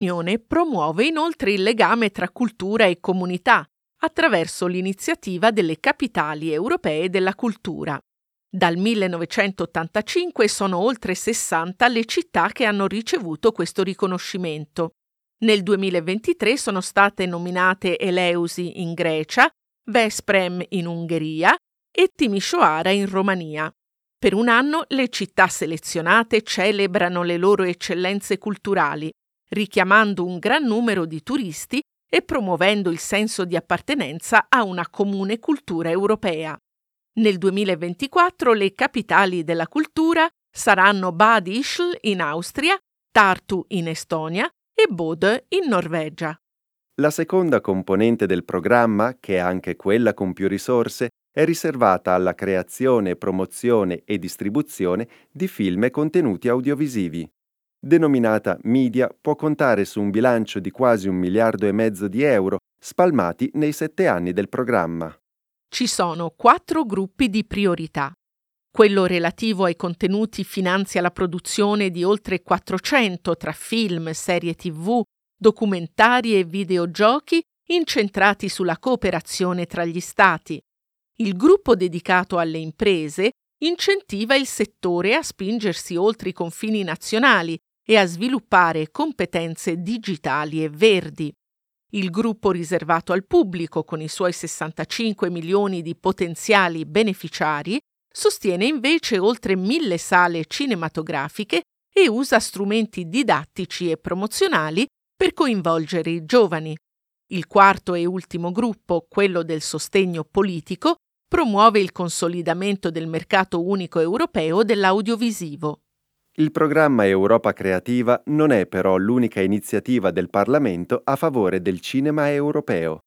L'Unione promuove inoltre il legame tra cultura e comunità attraverso l'iniziativa delle capitali europee della cultura. Dal 1985 sono oltre 60 le città che hanno ricevuto questo riconoscimento. Nel 2023 sono state nominate Eleusi in Grecia, Veszprém in Ungheria e Timișoara in Romania. Per un anno le città selezionate celebrano le loro eccellenze culturali, richiamando un gran numero di turisti e promuovendo il senso di appartenenza a una comune cultura europea. Nel 2024 le capitali della cultura saranno Bad Ischl in Austria, Tartu in Estonia e Bodø in Norvegia. La seconda componente del programma, che è anche quella con più risorse, è riservata alla creazione, promozione e distribuzione di film e contenuti audiovisivi. Denominata Media, può contare su un bilancio di quasi un miliardo e mezzo di euro spalmati nei sette anni del programma. Ci sono quattro gruppi di priorità. Quello relativo ai contenuti finanzia la produzione di oltre 400 tra film, serie TV, documentari e videogiochi incentrati sulla cooperazione tra gli Stati. Il gruppo dedicato alle imprese incentiva il settore a spingersi oltre i confini nazionali e a sviluppare competenze digitali e verdi. Il gruppo riservato al pubblico, con i suoi 65 milioni di potenziali beneficiari, sostiene invece oltre mille sale cinematografiche e usa strumenti didattici e promozionali per coinvolgere i giovani. Il quarto e ultimo gruppo, quello del sostegno politico, promuove il consolidamento del mercato unico europeo dell'audiovisivo. Il programma Europa Creativa non è però l'unica iniziativa del Parlamento a favore del cinema europeo.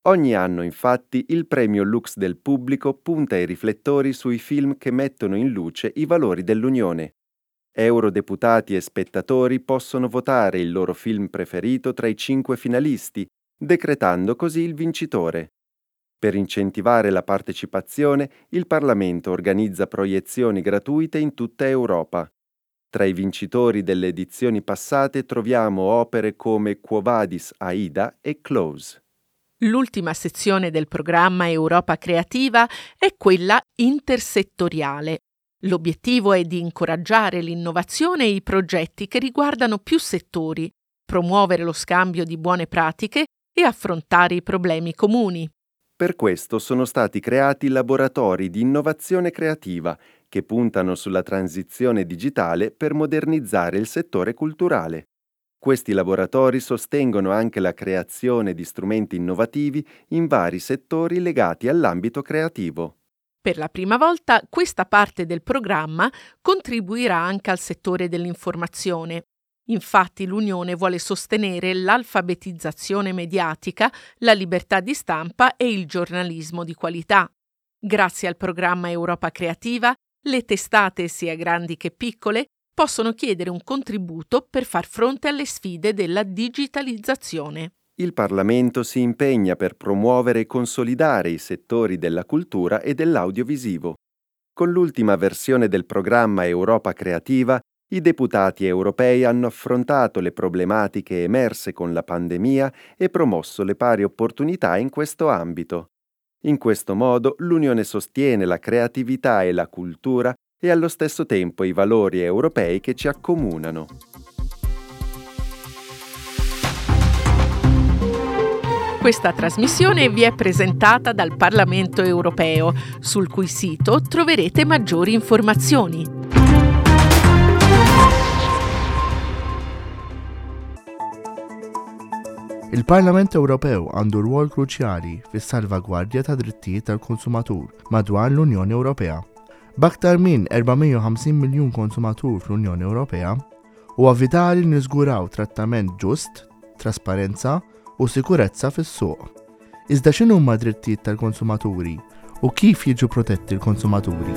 Ogni anno, infatti, il premio Lux del pubblico punta i riflettori sui film che mettono in luce i valori dell'Unione. Eurodeputati e spettatori possono votare il loro film preferito tra i cinque finalisti, decretando così il vincitore. Per incentivare la partecipazione, il Parlamento organizza proiezioni gratuite in tutta Europa. Tra i vincitori delle edizioni passate troviamo opere come Quo Vadis Aida e Close. L'ultima sezione del programma Europa Creativa è quella intersettoriale. L'obiettivo è di incoraggiare l'innovazione e i progetti che riguardano più settori, promuovere lo scambio di buone pratiche e affrontare i problemi comuni. Per questo sono stati creati laboratori di innovazione creativa che puntano sulla transizione digitale per modernizzare il settore culturale. Questi laboratori sostengono anche la creazione di strumenti innovativi in vari settori legati all'ambito creativo. Per la prima volta questa parte del programma contribuirà anche al settore dell'informazione. Infatti l'Unione vuole sostenere l'alfabetizzazione mediatica, la libertà di stampa e il giornalismo di qualità. Grazie al programma Europa Creativa, le testate, sia grandi che piccole, possono chiedere un contributo per far fronte alle sfide della digitalizzazione. Il Parlamento si impegna per promuovere e consolidare i settori della cultura e dell'audiovisivo. Con l'ultima versione del programma Europa Creativa, i deputati europei hanno affrontato le problematiche emerse con la pandemia e promosso le pari opportunità in questo ambito. In questo modo l'Unione sostiene la creatività e la cultura e allo stesso tempo i valori europei che ci accomunano. Questa trasmissione vi è presentata dal Parlamento europeo, sul cui sito troverete maggiori informazioni. Il-Parlament Ewropew għandu rwol kruċjali fis-salvagwardja tad-drittijiet tal-konsumatur madwar l-Unjoni Ewropea. B'aktar minn 450 miljun konsumatur fl-Unjoni Ewropea, huwa vitali li niżguraw trattament ġust, trasparenza u sikurezza fis-suq. Iżda x'inhuma d-drittijiet tal-konsumaturi u kif jiġu protetti l-konsumaturi?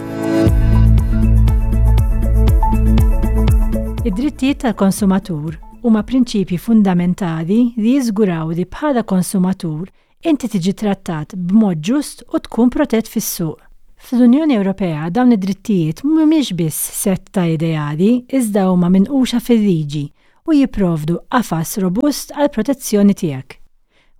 Id-drittijiet tal-konsumatur huma prinċipji fundamentali li jiżguraw li bħala konsumatur inti tiġi trattat b'mod ġust u tkun protett fis-suq. Fl-Unjoni Ewropea dawn id-drittijiet mhumiex biss sett ta' ideali iżda huma minquxa fil-liġi. u jipprovdu qafas robust għall-protezzjoni tiegħek.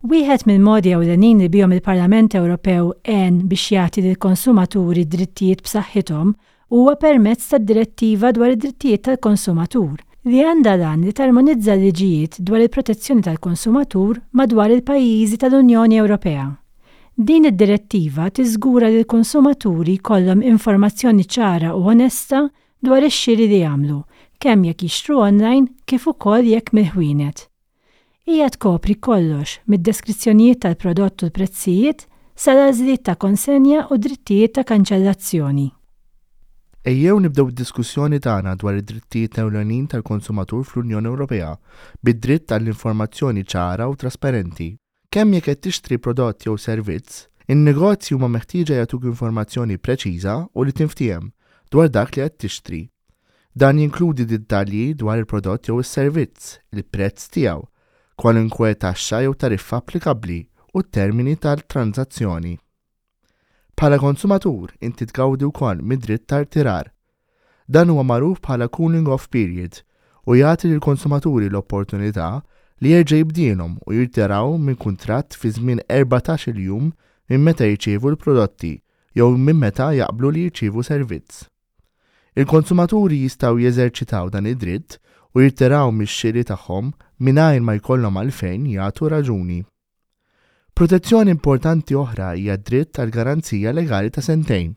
Wieħed mill-modi ewlenin li bihom il-Parlament Ewropew għen biex jagħti lill-konsumaturi drittijiet b'saħħithom huwa permezz tad-Direttiva dwar id-Drittijiet tal-Konsumatur, li għandha l-għan li tarmonizza l-liġijiet dwar il-protezzjoni tal-konsumatur madwar il-pajjiżi tal-Unjoni Ewropea. Din id-direttiva tiżgura li l-konsumaturi jkollhom informazzjoni ċara u onesta dwar ix-xiri li jagħmlu, kemm jekk jixtru online kif ukoll jekk mill-ħwienet. Hija tkopri kollox mid-deskrizzjonijiet tal-prodott u l-prezzijiet sal-għażliet ta' konsenja u d-drittijiet ta' kanċellazzjoni. Ejjew nibdew id-diskussjoni tagħna dwar id-drittijiet ewlenin tal-konsumatur fl-Unjoni Ewropea bid-dritt għall-informazzjoni ċara u trasparenti. Kemm jekk qed tixtri prodott jew servizz, in-negozji huma meħtieġa jagħtuk informazzjoni preċiża u li tinftiehem dwar dak li qed tixtri. Dan jinkludi dettalji dwar il-prodott jew is-servizz, il-prezz tiegħu, kwalunkwe taxxa jew tariffa applikabbli u t-termini tat-tranżazzjoni. Bħala konsumatur, inti tgawdi wkoll mid-dritt ta' rtirar. Dan huwa magħruf bħala cooling off period u jagħti lill-konsumaturi l-opportunità li jerġa' jibdielhom u jirtiraw minn kuntratt fi żmien 14-il jum minn meta jirċievu l-prodotti jew minn meta jaqblu li jirċievu servizz. Il-konsumaturi jistgħu jeżerċitaw dan id-dritt u jirtiraw mix-xiri tagħhom mingħajr ma jkollhom għalfejn jagħtu raġuni. Protezzjoni importanti oħra hija d-dritt għal garanzija legali ta' sentejn.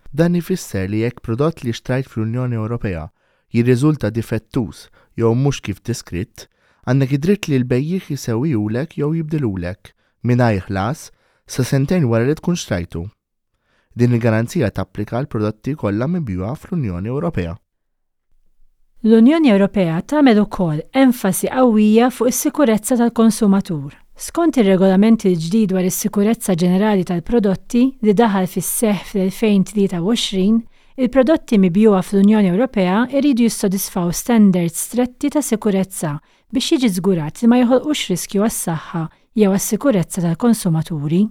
Dan ifisser li jekk prodott li xtrajt fl-Unjoni Ewropea jirriżulta difettuż jew mhux kif deskritt, għandek id-dritt li l-bejjiegħ isewwihulek jew jibdilhulek, mingħajr ħlas, sa sentejn wara li tkun xtrajtu. Din il-garanzija tapplika għall-prodotti kollha mibjugħa fl-Unjoni Ewropea. L-Unjoni Ewropea tagħmel ukoll enfasi qawwija fuq is-sikurezza tal-konsumatur. Skont ir-Regolament il-ġdid dwar is-Sikurezza Ġenerali tal-Prodotti li daħal fis-seħħ fl-2023, il-prodotti mibjugħa fl-Unjoni Ewropea jridu jissodisfaw standards stretti ta' sikurezza biex jiġi żgurat li ma joħolqux riskju għas-saħħa jew għas-sikurezza tal-konsumaturi.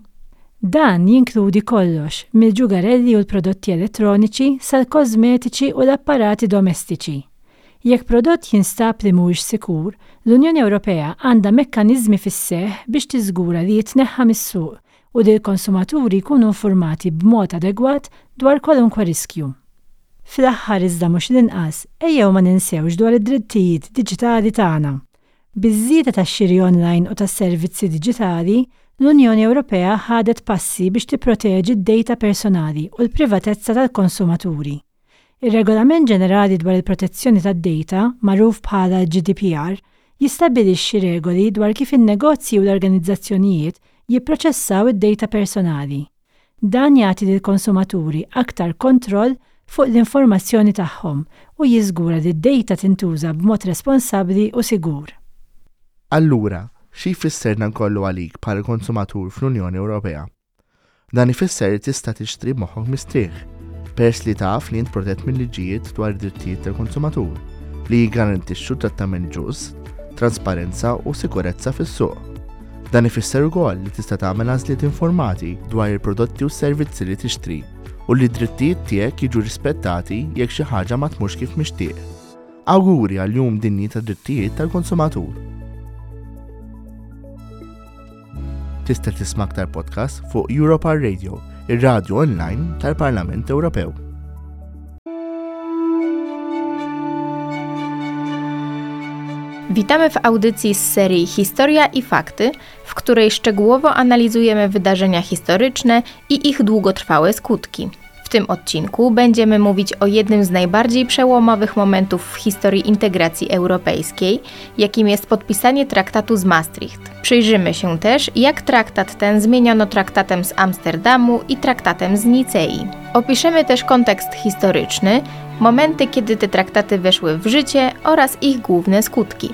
Dan jinkludi kollox, mill-ġugarelli u l-prodotti elettroniċi sal-kożmetiċi u l-apparati domestiċi. Jekk prodott jinstab li mhuwiex sikur, l-Unjoni Ewropea għandha mekkaniżmi fis-seħħ biex tiżgura li jitneħħa mis-suq u li l-konsumaturi jkunu infurmati b'mod adegwat dwar kwalunkwe riskju. Fl-aħħar iżda mhux l-inqas, ejjew ma ninsewx dwar id-drittijiet diġitali tagħna. Biż-żieda tax-xiri online u tas-servizzi diġitali, l-Unjoni Ewropea ħadet passi biex tipproteġi d-dejta personali u l-privatezza tal-konsumaturi. Ir-Regolament Ġenerali dwar il-Protezzjoni tad-Dejta, magħruf bħala l-GDPR, jistabbilixxi regoli dwar kif in-negozji u l-organizzazzjonijiet jipproċessaw id-dejta personali. Dan jagħti lill-konsumaturi aktar kontroll fuq l-informazzjoni tagħhom u jiżgura li d-dejta tintuża b'mod responsabbli u sigur. Allura, xi jfisser dan kollu għalik bħala konsumatur fl-Unjoni Ewropea? Dan ifisser li tista' tixtri b'moħħok mistrieħ, peress li taf li int protett mil-liġijiet dwar id-drittijiet tal-konsumatur, li jiggarantixxu trattament ġust, trasparenza u sikurezza fis-suq. Dan ifisser ukoll li tista' tagħmel għażliet informati dwar il-prodotti u s-servizzi li tixtri u li d-drittijiet tiegħek jiġu rispettati jekk xi ħaġa ma tmurx kif mixtieq. Awguri għall-Jum Dinji tad-Drittijiet tal-Konsumatur! Tista' tisma' aktar podcasts fuq Europa Radio, ir-radju online tal-Parlament Ewropew. Witamy w audycji z serii Historia i Fakty, w której szczegółowo analizujemy wydarzenia historyczne i ich długotrwałe skutki. W tym odcinku będziemy mówić o jednym z najbardziej przełomowych momentów w historii integracji europejskiej, jakim jest podpisanie traktatu z Maastricht. Przyjrzymy się też, jak traktat ten zmieniono traktatem z Amsterdamu i traktatem z Nicei. Opiszemy też kontekst historyczny, momenty, kiedy te traktaty weszły w życie oraz ich główne skutki.